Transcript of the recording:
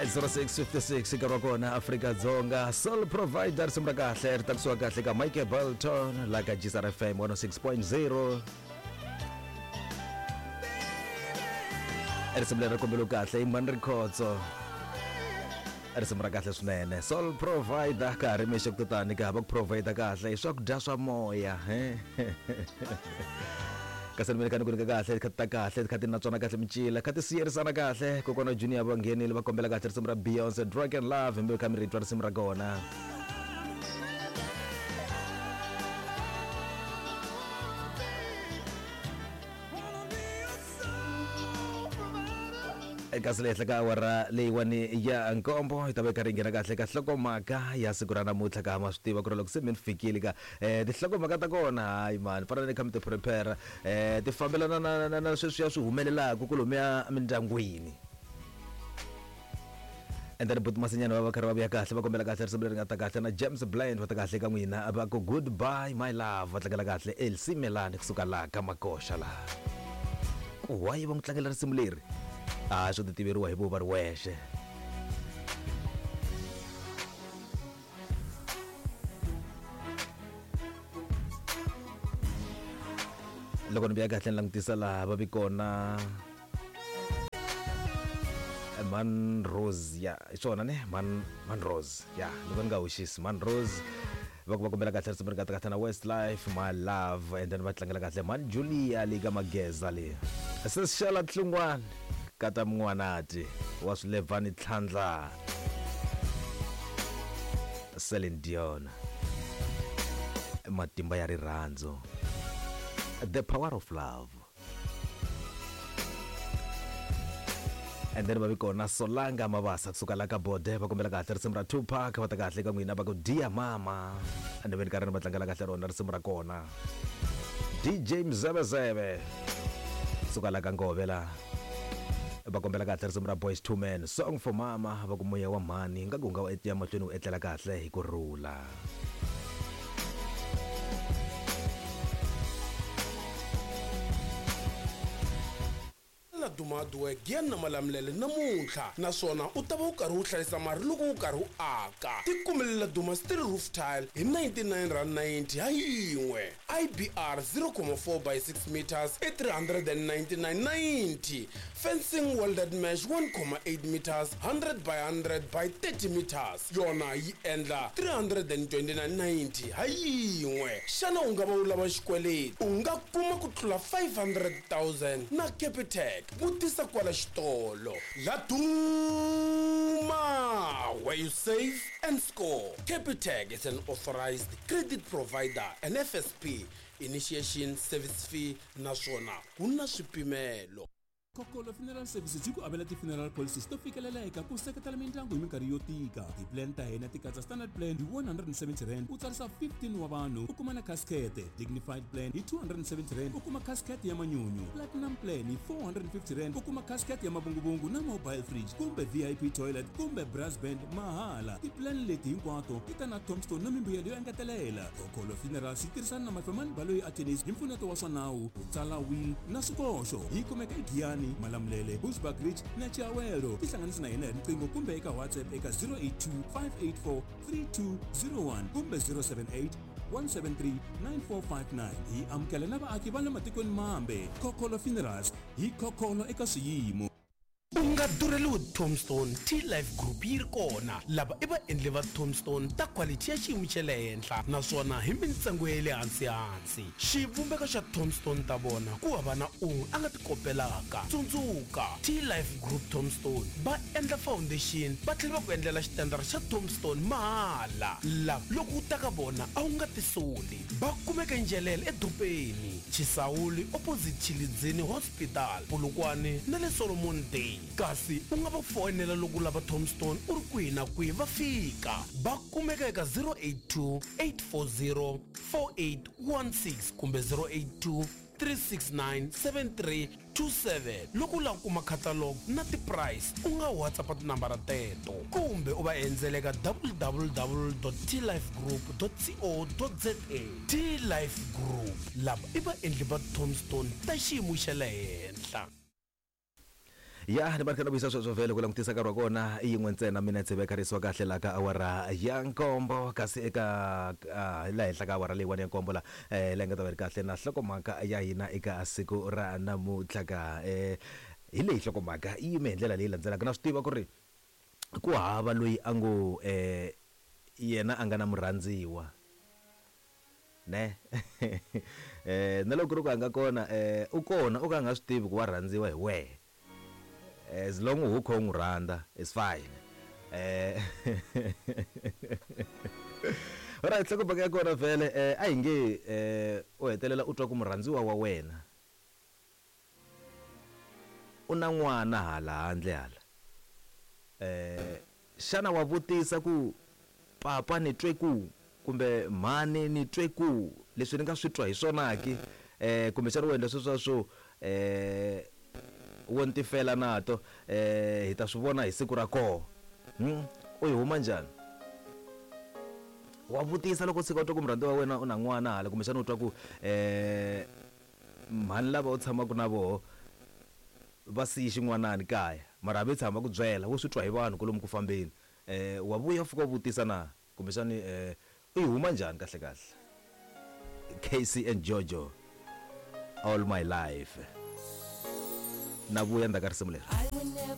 0656 nkarhi wa kona Afrika-Dzonga. Soul Provider, risimu ra kahle ri takusiwa kahle ka Michael Bolton la ka GSR FM 106.0. Risimu leri ri kombeliwe kahle i Mani Rikhotso, risimu ra kahle swinene, Soul Provider. Ka ha ri mixo ku tani ka ha va ku provide kahle hi swakudya swa moya he kasi ni kha ni ku nyika kahle kha ti ta kahle kha ti natswana kahle micila kha ti siyerisana kahle. Kokwana Junior va nghenile va kombela kahle risimu ra Beyonce, Drug and Love. Mi kha mi ri twa risimu ra kona. Kasi le henhla ka awara leyiwani ya 7 hi ta va yi karhi yi nghena kahle ka nhlokomhaka ya siku ra namuntlha. Ka ma swi tiva ku ri loko se mi ni fikile ka tinhlokomhaka ta kona, hayi mani, fana ni kha mi ti prepare, ti fambelana na sweswiya swi humelelaka kolomuya mindyangwini. And then buti Masinyana va va karhi va vuya kahle va kombela kahle risimu leri nga ta kahle na James Blind. Va ta kahle ka n'wina va ku Goodbye My Love. Va tlangela kahle Elsie Melani kusuka laha ka Makoxa laha. Ku why va n'wi tlangela risimu leri a swo ti tiveriwa hi vo va ri wexe. Loko ni vuya kahle ni langutisa laha va vi kona Man Rose ya hi swona ne Man Rose ya loko ni nga hoxisi Man Rose va ku va kombela kahle risimu ri nga ta kahle na Westlife, My Love. And then va tlangela kahle Man Julia leyi ka Mageza leyi sesixala tlungwana kata mun'wanati wa swilevhani tlhandla Celine Dion, Matimba ya Rirhandzu, The Power of Love. And then va vi kona Solanga Mavasa kusuka la ka Bode va kombela kahle risimu ra Tupac. Va ta kahle ka n'wina va ku Dear Mama, and then karhi va tlangela kahle rona risimu ra kona. DJ Mzebezebe kusuka la ka Ngove la va kombela kahle risimu ra Boys Two Men, Song for Mama. Va ku moya wa mhani nga ku nga wu ya mahlweni wu etlela kahle hi ku rhula. Na Duma Hardwork Giyani na Malamulele namuntlha, naswona u ta va u karhi u hlayisa mari loko u karhi u aka. Tikumelela Duma Steel Roof Tile hi R99.90 ha yin'we, IBR 0,4 by 6 meters i 399.90, fencing welded mesh 1,8 meters 100 by 100 by 30 meters yona yi endla 329.90 ha yin'we. Xana u nga va u lava xikweleti? U nga kuma ku tlula 500 000 na Capitec. Vutisa kwala xitolo. Laduma, where you save and score. Capitec is an authorized credit provider and FSP initiation service fee, naswona ku na swipimelo. Kokolo Funeral Services yi ku avela ti-funeral policies to fikeleleka ku seketela mindyangu hi minkarhi yo tika. Ti-plan ta hina ti katsa standard plan hi R170, u tsarisa 15 wa vanhu, u kuma na casket; dignified plan hi R270, u kuma casket ya manyunyu; platinum plan hi R450, u kuma casket ya mavunguvungu na mobile fridge kumbe VIP toilet kumbe brass band mahala. Ti-plan leti hinkwato ti ta na tombstone na mimbuyelo yo engetelela. Kokolo Funerals yi tirhisana na Mafemani Baloyi Attorneys hi mpfuneto wa swa nawu, ku tsala will na swikoxo. Yi kumeka eGiyani, Malamulele, Bushbuckridge na Chiawelo. Tihlanganisi na hina hi riqingho kumbe eka WhatsApp eka 082 584 3201 kumbe 078 173 9459. Hi amukela na vaaki va le matikweni mambe. Khokholo Funerals, hi khokholo eka swiyimo. U nga durheliwi tombstone, T-Life Group yi ri kona. Lava i vaendli va tombstone ta quality ya xiyimo xa le henhla naswona hi mintsengo ya le hansi-hansi. Xivumbeko xa tombstone ta vona ku hava na un'we a nga ti kopelaka. Tsundzuka, T-Life Group Tombstone va endla foundation va tlhela va ku endlela xitendara xa tombstone mahala. Lava loko u ta ka vona a wu nga tisoli. Va kumeka eNjelele eDopeni, Chisawuli opposite Tshilidzini Hospital, Polokwane na le Solomon Day. Kasi u nga va foyinela loko u lava tombstone u ri kwihi na kwihi va fika. Va kumeka eka 082 840 4816 kumbe 082 369 7327. Loko u lava ku kuma catalog na ti-price, u nga WhatsApp tinambara teto kumbe u va endzela eka www.tlifegroup.co.za. T-Life Group, lava i vaendli va tombstone ta xiyimo xa le henhla. Ya ni va ri kha ni vuyisa sweswo vhele ku langutisa nkarhi wa kona i yin'we ntsena minetse va kharisiwa kahle la ka awara ya nkombo, kasi eka la henhla ka awara leyiwani ya nkombo la la yi nga ta va ri kahle na nhlokomhaka ya hina eka siku ra namuntlha ka hi leyi nhlokomhaka yi yime hi ndlela leyi landzelaka. Na swi tiva ku ri ku hava loyi a ngo yena a nga na murhandziwa ne na loko ku ri ku a nga kona u kona o ka a nga swi tivi ku wa rhandziwa hi wehe, as long u kha u n'wi rhandza is fine. Alright, nhlokomhaka ya kona vhele a hi nge u hetelela u twa ku murhandziwa wa wena u na n'wana hala handle hala, xana wa vutisa ku papa ni twe ku kumbe mhani ni twe ku leswi ni nga swi twa hi swona ki, kumbexana u endla sweswiya swo wo ni tifela nato, hi ta swi vona hi siku ra koho, u yi huma njhani? Wa vutisa loko u tshika u twa ku murhandziwa wa wena u na n'wana hala, kumbexana u twa ku mhani lava u tshamaka na voho va siye xin'wanani kaya, mara a ve tshama va ku byela, wo swi twa hi vanhu kwalomu ku fambeni, wa vuya u fika u vutisa na? Kumbexani u yi huma njhani kahle kahle? Casey and Jojo, All My Life. Na vuya ndzhaku ka risimu leri.